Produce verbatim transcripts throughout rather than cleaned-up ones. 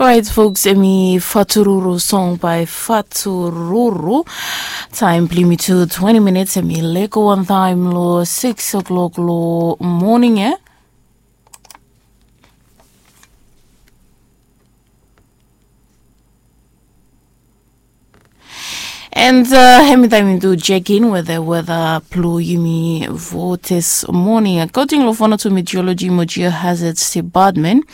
Orait folks, emi fatururu song by fatururu. Taim blimi tu twenty minutes, emi leko wan taim lo six o'clock lo morning e. And uh, hemi taim mi tu check in with the weather blue yumi for this morning. According lo fono to meteorology mo geohazards department,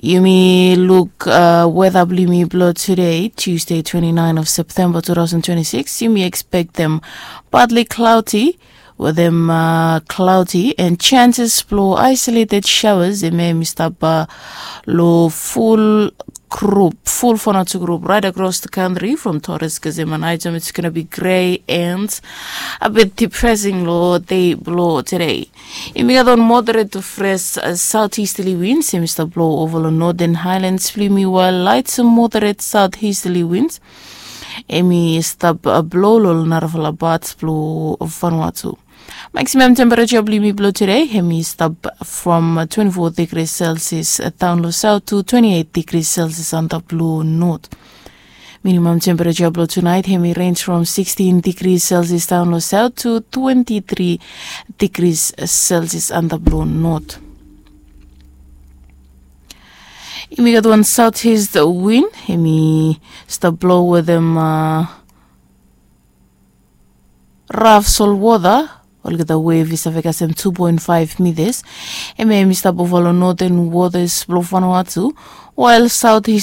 yumi look uh, weather blue yumi blo today, Tuesday, twenty-nine of September two thousand twenty-six. Yumi expect them partly cloudy with them uh, cloudy and chances blow isolated showers. They may mistap uh, lo full group, full Vanuatu group right across the country from Torres Kazema and Item. It's gonna be gray and a bit depressing lo day blow today. Imi gat on moderate to fresh uh, southeasterly winds. Imi stap blow over lo Northern Highlands blimi, while light to moderate southeasterly winds emi stap uh, blow lo narafala parts blo Vanuatu. Maximum temperature blimi blo today emi stap from uh, twenty-four degrees Celsius uh, down lo south to twenty-eight degrees Celsius under blo north. Minimum temperature blo tonight emi range from sixteen degrees Celsius down lo south to twenty-three degrees Celsius under blo north. Imi gat wan southeast wind emi stap blow with them uh, raf solwota. Olgeta wave i save kasem two point five meters. Emi emi stap over lo northern waters blo Vanuatu, while southeast